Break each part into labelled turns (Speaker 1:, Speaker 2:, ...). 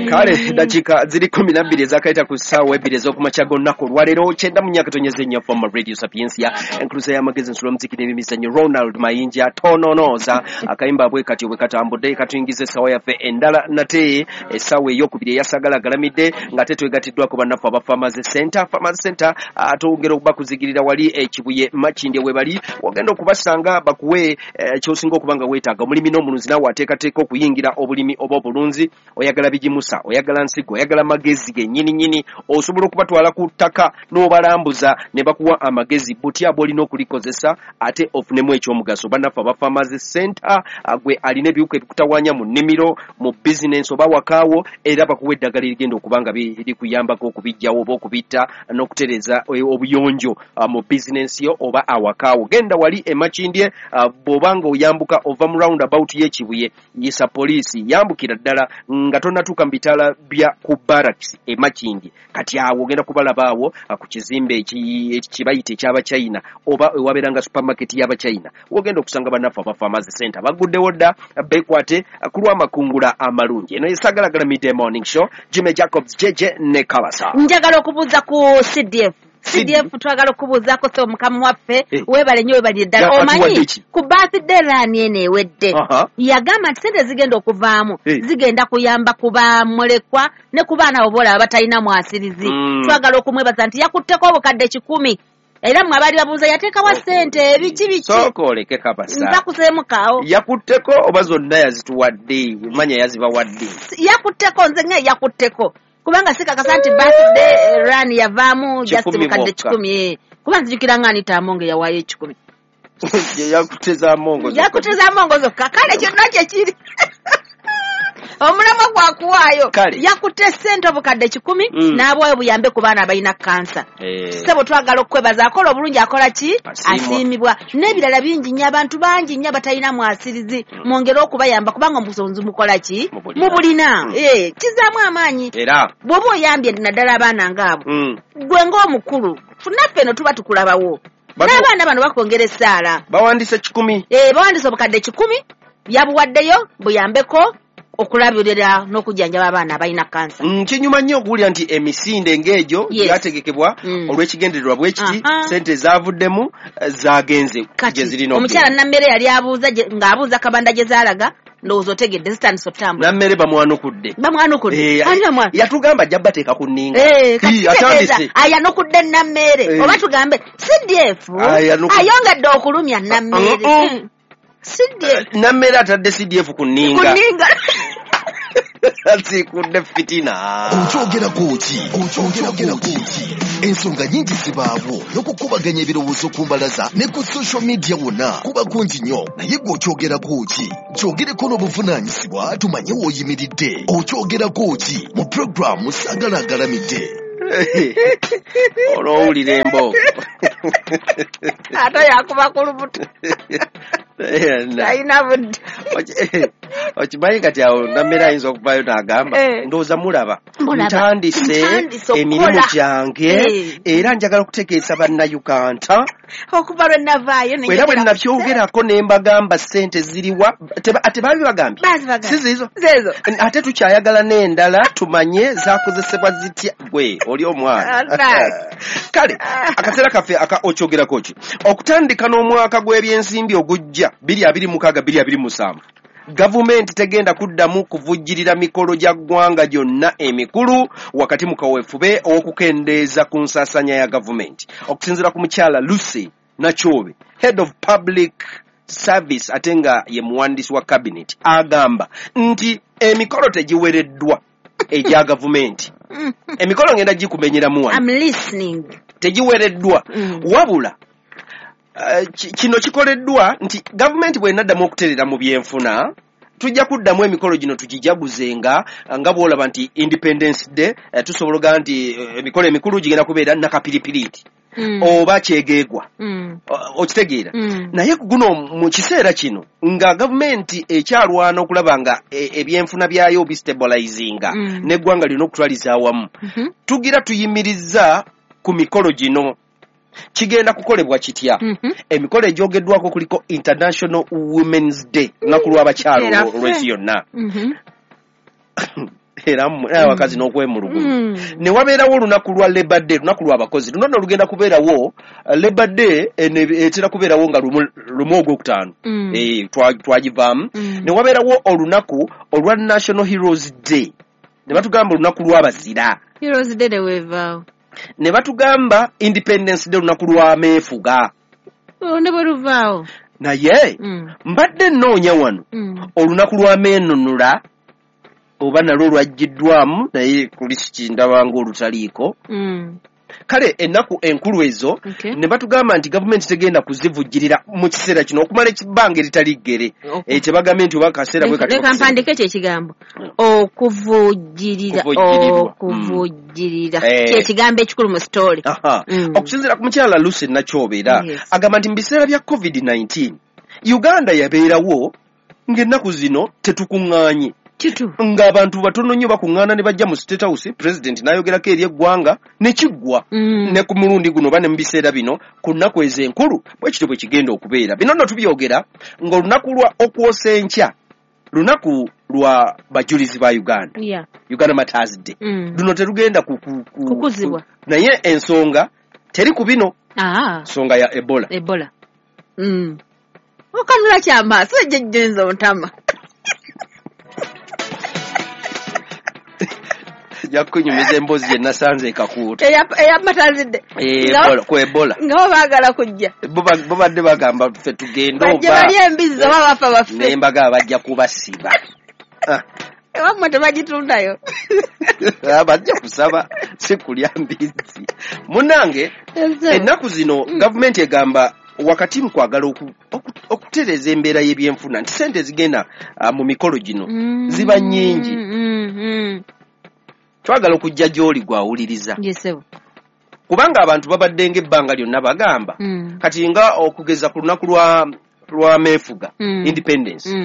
Speaker 1: Kale dakiika ziri 12 ezakayita ku ssaawa 2 ez'okumakya g'olunaku olwaleero, 94.4 FM Radio Sapientia, enkuluza y'amagezi, nsula omuziki n'ebimizannyo. Ronald Mayinja tononooza akayimba bwe katyo bwe katambudde katuyingiza essaawa yaffe endala nate, essaawa eyokubiri eyasagala agalamidde, ng'ate twegatiddwako bannaffe aba Farmers Center. Farmers Center twongera okubakuzigirira wali Ekibuye, Makindye we bali, wagenda okubasanga bakuwe ky'osinga okuba nga weetaaga. Omulimi n'omulunzi, naawe ateekateeka okuyingira obulimi oba obulunzi, oyagala bigimusa, oyagala nsigo, oyagala magezi gennyini nnyini, osobola okubatwala ku ttaka n'obalambuza ne bakuwa amagezi butya bw'olina okulikozesa ate ofunemu ekyomugaso. Bannaffe aba Farmers Center, gwe alina ebiwuka ebikutawaanya mu nnimiro, mu bizinensi oba wakaawo, era bakuwa eddagala erigenda okuba nga likuyambako okubiggyawo oba okubitta n'okutereeza obuyonjo mu bizinensi yo oba awakaawo. Genda wali e Makindye, bw'oba nga oyambuka ova mu round about y'Ekibuye, yisa poliisi, yambukira ddala nga tonnatuuka mu bitaala bya ku barracks e Makindye. Kati awo ogenda kubalaba awo ku kizimbe kibayita eky'Abachina oba ewabeera nga supermarket y'Abachina, wogenda okusanga bannaffe aba Farmers Center. Baguddewo dda, beekwate ku lw'amakungula amalungi. Eno yesagalagala Midday Morning Show, Jimmy Jacobs JJ ne Kabasa.
Speaker 2: Njagala okubuuza ku CDF. CDF twagala okubuuzaako, so mukama waffe, weebale nnyo, weebalire ddala.
Speaker 1: Yakatuwadde
Speaker 2: Omanyi
Speaker 1: ki?
Speaker 2: ku birthday run eno ewedde, yagamba nti sente zigenda okuvaamu zigenda kuyamba ku bamulekwa ne ku baana abo boolaba batalina mwasirizi. Twagala okumwebaza nti yakutteko obukadde 100, era mmwe abaali babuuza yateekawa ssente, ebiki biki.
Speaker 1: Sooka oleke, Kabasa.
Speaker 2: Nza kuseemukaawo.
Speaker 1: Yakutteko oba zonna yazituwadde? Manya yazibawadde.
Speaker 2: Yakutteko, nze nga yakutteko, kubanga sikakasa nti birthday run yavaamu just
Speaker 1: 100
Speaker 2: bukadde
Speaker 1: bwokka.
Speaker 2: 100, kuba nzijukira nga Anita Amonge yawaayo 100.
Speaker 1: Yakutte za Mongo zokka.
Speaker 2: Yakutte za Mongo zokka. Kale kyonna kyekiri, omulamwa gwakuwaayo.
Speaker 1: Kale.
Speaker 2: Yakutte ssente obukadde 100 n'abwayo buyambe ku baana abalina kansa. Ssebo, twagala okukwebaza. Akola obulungi akola ki?
Speaker 1: Asiimwa.
Speaker 2: Asiimibwa. N'ebirala bingi nnyo, abantu bangi nnyo abatalina mwasirizi, mwongere okubayamba kubanga omusonzi mukola ki?
Speaker 1: Mubulina.
Speaker 2: Mubulina. Kizaamu amaanyi
Speaker 1: Era
Speaker 2: bw'oba oyambye naddala abaana ngaabo. Gwe ng'omukulu, naffe eno tuba tukulabawo, n'abaana bano bakwongera essaala.
Speaker 1: Bawandise 100.
Speaker 2: Bawandise obukadde 100, yabuwaddeyo buyambeko okulabirira n'okujjanjaba abaana abalina kansa.
Speaker 1: Kinyuma nnyo okuwulira nti emisinde ng'egyo gyategekebwa olw'ekigendererwa bwe kiti, sente zaavuddemu zagenze
Speaker 2: Kati
Speaker 1: gye zirina
Speaker 2: omukyala
Speaker 1: okugenda.
Speaker 2: Nammere yali abuuza ng'abuuza Kabanda gye zaalaga, ndowooza otegedde, zitandise otambula.
Speaker 1: Nammere bamwanukudde.
Speaker 2: Bamwanukudde. Ani bamwana?
Speaker 1: Yatugamba ajja bateeka ku nninga.
Speaker 2: Kati
Speaker 1: Ii,
Speaker 2: kitegeeza
Speaker 1: atandise.
Speaker 2: ayanukudde Nammeere. Oba tugambe CDF ayongedde okulumya Nammeere. CDF.
Speaker 1: Nammere atadde CDF ku
Speaker 2: ku
Speaker 1: nninga.
Speaker 2: Nninga.
Speaker 1: Asiikudde fitina.
Speaker 3: Okyogerako ki? Okyogerako ki? Ensonga nyingi zibaawo n'okukubaganya ebirowoozo ku mbalaza ne ku social media wonna kuba kungi nnyo, naye gwe okyogerako ki? Kyogereko n'obuvunaanyizibwa tumanye w'oyimiridde. Okyogerako ki mu puroguramu Saagala Agalamidde.
Speaker 1: Olwowulira embooko.
Speaker 2: Ate yakuba ku lubuto, talina budde.
Speaker 1: Okimanyi kati awo Nammere ayinza okuvaayo n'agamba, ndowooza mulaba,
Speaker 2: Mulaba.
Speaker 1: ntandise
Speaker 2: Ntandise okukola.
Speaker 1: emirimu gyange, era njagala okutegeeza Bannayuganda
Speaker 2: okuva lwe navaayo ne
Speaker 1: era bwe
Speaker 2: njogera ku
Speaker 1: nakyogerako ne mbagamba ssente ziriwa, ate baabibagambye.
Speaker 2: Baazibagambye.
Speaker 1: Si ziizo?
Speaker 2: Zeezo.
Speaker 1: Ate tukyayagala n'endala tumanye zakozesebwa zitya. Gwe oli omwana.
Speaker 2: Alright.
Speaker 1: Kale akaseera kaffe aka okyogerako ki, okutandika n'omwaka gw'ebyensimbi ogujja 2026 2027, gavumenti tegenda kuddamu kuvujjirira mikolo gya ggwanga gyonna emikulu wakati mu kaweefube ow'okukendeeza ku nsaasaanya ya gavumenti. Okusinziira ku mukyala Lucy Nakyobe, head of public service ate nga ye muwandiisi wa cabinet, agamba nti emikolo tegiwereddwa egya gavumenti. Emikolo ngenda gikumenyeramu wano.
Speaker 2: I'm listening.
Speaker 1: Tegiwereddwa, wabula kino kikoleddwa nti gavumenti bw'enaddamu okuterera mu byenfuna, tujja kuddamu emikolo gino tugijaguzenga nga bw'olaba nti Independence Day, tusobola ogamba nti emikolo emikulu gigenda kubeera nakapiripiriiti oba kyegeegwa. Okitegeera? Naye guno mu kiseera kino nga gavumenti ekyalwana okulaba nga ebyenfuna byayo bistabilizinga n'eggwanga lirina okutwaliza awamu, tugira tuyimiriza ku mikolo gino. Kigenda kukolebwa kitya? Emikolo egyogeddwako kuliko International Women's Day, lunaku lw'abakyala
Speaker 2: Era
Speaker 1: olw'ensi
Speaker 2: ffe.
Speaker 1: yonna. Era abakazi n'okwemulugunya. Ne wabeerawo olunaku lwa Labor Day, lunaku lw'abakozi. Luno nno lugenda kubeerawo Labor Day etera kubeerawo nga lumu ogwokutaano. Twagivaamu. Ne wabeerawo olunaku olwa National Heroes Day. Ne batugamba olunaku lw'abazira.
Speaker 2: Heroes Day weevaawo.
Speaker 1: Ne batugamba Independence Day, olunaku lw'ameefuga.
Speaker 2: Ne bwe luvaawo.
Speaker 1: Naye mbadde nnoonya wano olunaku lw'ameenunula oba nalwo lwaggiddwamu, naye kulisiti ndaba ng'olutaliiko. Kale ennaku enkulu ezo ne batugamba nti gavumenti tegenda kuzivujjirira mu kiseera kino okumala ekibbanga eritali ggere. Kyebagambye nti oba kaseera bwe kati.
Speaker 2: Leka mpandike ekyo ekigambo. Okuvujjirira. Okuvujjirira. Kye kigambo ekikulu mu story.
Speaker 1: Okusinziira ku mukyala Lucy Nakyobeera, agamba nti mu biseera bya COVID-19 Uganda yabeerawo ng'ennaku zino tetukuŋŋaanye. Ng'abantu batono nnyo bakuŋŋaana ne bajja mu State House, President n'ayogerako eri eggwanga ne kiggwa. Ne ku mulundi guno oba ne mu biseera bino ku nnaku ezo enkulu bwe kityo bwe kigenda okubeera. Bino nno tubyogera ng'olunaku lwa okwosa enkya lunaku lwa bajulizi ba Uganda. Uganda Martyrs Day. Luno terugenda
Speaker 2: kukuzibwa.
Speaker 1: Naye ensonga teri ku bino. Nsonga ya Ebola.
Speaker 2: Ebola. Okanula kyamaaso ejjejjenza ontama.
Speaker 1: Jakunyumiza emboozi gye nasanze ekakuuta.
Speaker 2: Eya Martyrs Day.
Speaker 1: Ku Ebola.
Speaker 2: Nga bo baagala kujja.
Speaker 1: Bo badde bagamba ffe tugende oba.
Speaker 2: Bajje balye embizzi oba bafa baffe.
Speaker 1: Ne mbagamba bajja kubasiba.
Speaker 2: Ewammwe tebagitundayo.
Speaker 1: Bajja kusaba si kulya mbizzi. Munnange ennaku zino gavumenti egamba wakati mu kwagala okutereeza embeera y'ebyenfuna nti ssente ezigenda mu mikolo gino ziba nnyingi. Twagala okujja gy'oli gw'awuliriza. Kubanga abantu babadde ng'ebbanga lyonna bagamba kati nga okugeza ku lunaku lwa meefuga independence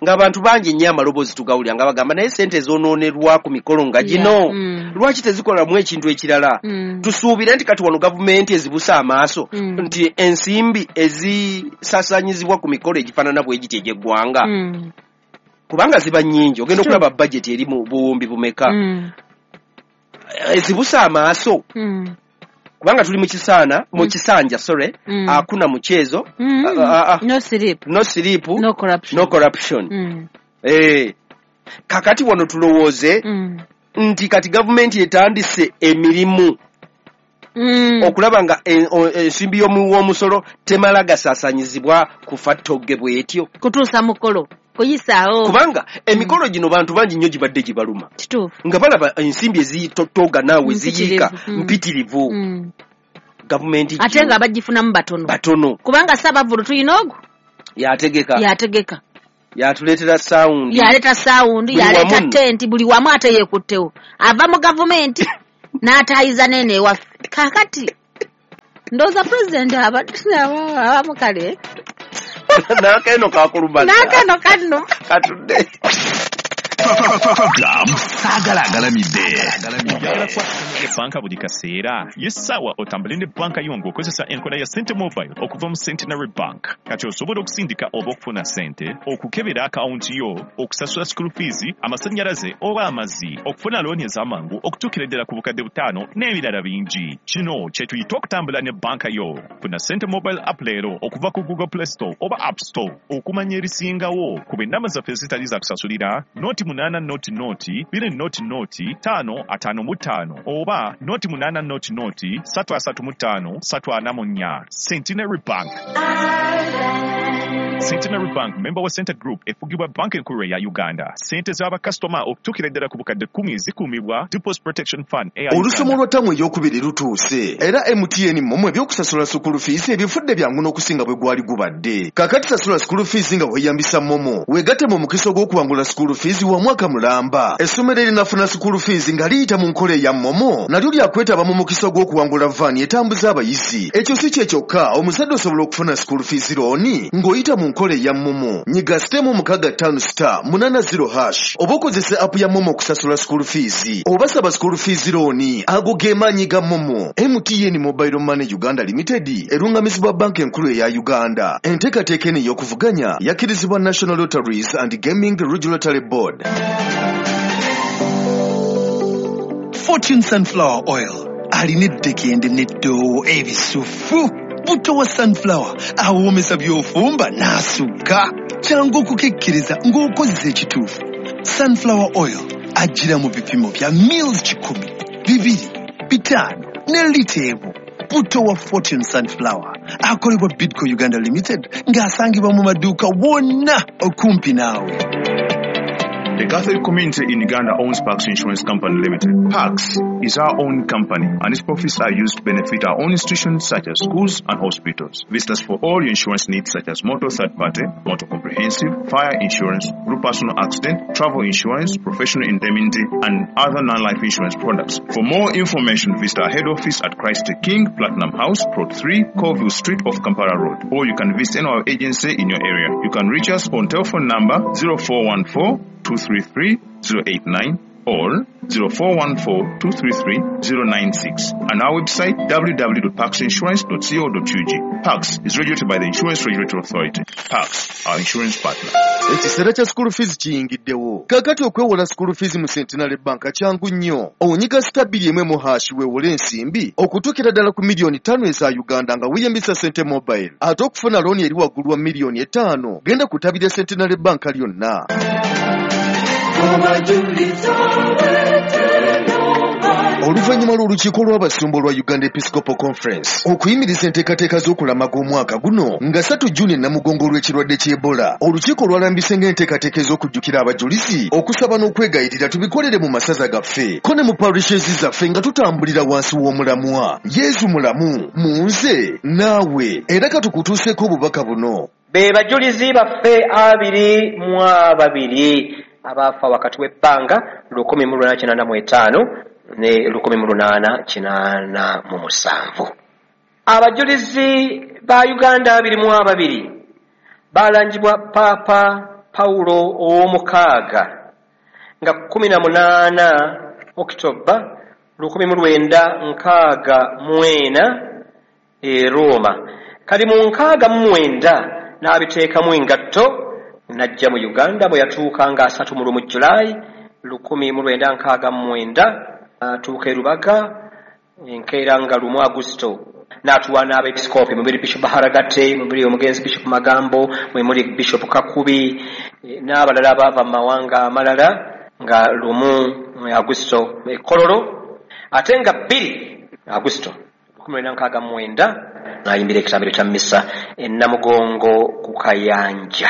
Speaker 1: ng'abantu bangi nnyo amaloboozi tugawulira nga bagamba naye ssente ezonoonerwa ku mikolo nga gino lwaki tezikolamu ekintu ekirala. Tusuubire nti kati wano gavumenti ezibusa amaaso nti ensimbi ezisaasaanyizibwa ku mikolo egifaanana bwe giti egy'eggwanga kubanga ziba nnyingi, ogenda okulaba bajeti eri mu buwumbi bumeka ezibusa amaaso kubanga tuli mu kisaana mu kisanja sorry akuna mchezo
Speaker 2: no sleep
Speaker 1: no sleep
Speaker 2: no corruption,
Speaker 1: no corruption. Kakati wano tulowooze nti kati gavumenti etandise emirimu okulaba nga ensimbi y'omuw'omusolo temala gasaasanyizibwa kufa ttogge bw'etyo
Speaker 2: kutuusa mukolo kuyisaawo,
Speaker 1: kubanga emikolo gino bantu bangi nnyo gibadde gibaluma nga balaba ensimbi ezitotoga naawe ziyiika mpitirivu. Gavumenti
Speaker 2: ate nga bagifunamu batono kubanga Ssaabavvulu tulina ogwo yategeka
Speaker 1: yatuleetera sound,
Speaker 2: yaleeta sound, yaleeta tenti buli wamu ate yeekuttewo ava mu gavumenti n'ataayiza nene ewaffe. Kaakati ndowooza pulezidenti abamu kale
Speaker 1: n'akeno kakulumbaza
Speaker 2: n'akeno kanno
Speaker 1: katudde
Speaker 3: saagala agalamidde
Speaker 4: banka buli kaseera ye ssaawa otambule ne banka yo ng'okozesa enkola ya Sente Mobile okuva mu Centenary Bank. Kati osobola okusindika oba okufuna ssente, okukebera akawunti yo, okusasula school fees, amasannyalaze oba amazzi, okufuna looni ez'amangu okutuukira ddala ku bukadde 5 n'ebirala bingi. Kino kye tuyita okutambula ne banka yo. Funa Sente Mobile app leero okuva ku Google Play Store oba App Store okumanya ebisingawo. Kuba ennamba zaffe ezitali za kusasulira 0 8 0 0 2 0 0 5 55 oba 0 8 0 0 3 35 344. Centenary Bank. Centenary Bank member wa Center Group efugibwa banka enkulu eya Uganda. Ssente z'abakasitoma okutuukira ddala ku bukadde 10 zikuumibwa Deposit Protection Fund eya
Speaker 3: Olusomo
Speaker 4: Uganda.
Speaker 3: lwa ttamu ey'okubiri lutuuse era MTN MoMo ebyokusasula school fees ebifudde byangu n'okusinga bwe gwali gubadde. Kaakati sasula school fees nga weeyambisa MoMo, weegatte mu mukisa ogw'okuwangula school fees wa mwaka mulamba. Essomero erinafuna school fees nga liyita mu nkola eya MoMo nalyo lyakwetaba mu mukisa ogw'okuwangula van etambuza abayizi. Ekyo si kye kyokka, omuzadde osobola okufuna school fees loan ng'oyita mu nkola eya MoMo. Nyiga *658*80# oba okozesa app ya MoMo okusasula school fees oba saba school fees loan. Ago ge maanyi ga MoMo. MTN Mobile Money Uganda Limited erungamizibwa banka enkulu eya Uganda. Enteekateeka eno ey'okuvuganya yakkirizibwa National Lotteries and Gaming Regulatory Board.
Speaker 5: Fortune Sunflower Oil alina eddekende n'eddoowo ebisufu. Butto wa sunflower awoomesa by'ofumba n'asukka. Kyangu okukekkeriza ng'okozesa ekituufu. Sunflower Oil ajjira mu bipimo bya mils 100, 200, 500 ne lita emu. Butto wa Fortune Sunflower akolebwa Bidco Uganda Limited ng'asangibwa mu maduuka wonna okumpi naawe.
Speaker 6: The Catholic community in Uganda owns Pax Insurance Company Limited. Pax is our own company and its profits are used to benefit our own institutions such as schools and hospitals. Visit us for all your insurance needs such as motor third party, motor comprehensive, fire insurance, group personal accident, travel insurance, professional indemnity and other non-life insurance products. For more information, visit our head office at Christ the King, Platinum House, Plot 3, Colville Street off Kampala Road. Or you can visit any of our agency in your area. You can reach us on telephone number 0414 233 089 or 0414 233 096 and our website www.paxinsurance.co.ug. Pax is regulated by the Insurance Regulatory Authority. Pax, our insurance partner.
Speaker 3: Ekiseera kya school fees kiyingiddewo. Kaakati okwewola school fees mu Centenary Bank kyangu nnyo. Onyiga *2 hash weewole ensimbi okutuukira ddala ku miliyoni 5 eza Uganda nga weeyambisa Sente Mobile. Ate okufuna looni eri waggulu wa miliyoni 5 genda kutabira Centenary Bank lyonna. Oluvannyuma lw'olukiiko lw'abasumba olwa Uganda Episcopal Conference okuyimiriza enteekateeka z'okulamaga omwaka guno nga 3 Juni Namugongo olw'ekirwadde ky'Ebola, olukiiko lwalambise ng'enteekateeka ez'okujjukira abajulizi, okusaba n'okwegayirira tubikolere mu masaza gaffe ko ne mu parishes zaffe nga tutambulira wansi w'omulamwa Yesu mulamu mu nze naawe. Era katukutuuseeko obubaka buno.
Speaker 1: Be bajulizi baffe 22 abaafa wakati w'ebbanga 1885 ne 1887. Abajulizi ba Uganda 22 balangibwa Papa Paulo ow'omukaaga nga 18 Oktoba 1964 e Roma. Kali mu 69 n'abiteekamu engatto n'ajja mu Uganda bwe yatuuka nga 31 Julaayi 1969 atuuka e Rubaga enkeera nga 1 Agusto n'atuwa n'abeepisikoopi mubiri Bishop Haragate, mubiri omugenzi Bishop Magambo, mwe muli Bishop Kakubi n'abalala abaava mu mawanga amalala nga 1 Agusto e Kololo, ate nga 2 Agusto 1969 n'ayimbira ekitambiro kya mmisa e Namugongo ku Kayanja.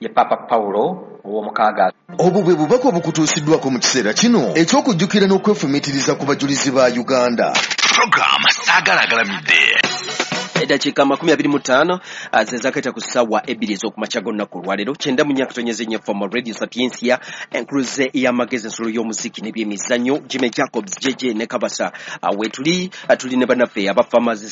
Speaker 1: Ye Papa Paulo ow'omukaaga.
Speaker 3: Obwo bwe bubaka obukutuusiddwako mu kiseera kino eky'okujjukira n'okwefumiitiriza ku bajulizi ba Uganda.
Speaker 7: Program Saagala Agalamidde.
Speaker 1: Eddakiika 25 ze zaakaita ku ssaawa 2 ez'okumakya g'olunaku olwaleero 94.4 FM Radio Sapientia, enkuluze y'amagezi, ensolo y'omuziki n'ebyemizannyo. Jimmy Jacobs, JJ ne Kabasa wetuli, tuli ne bannaffe aba Farmers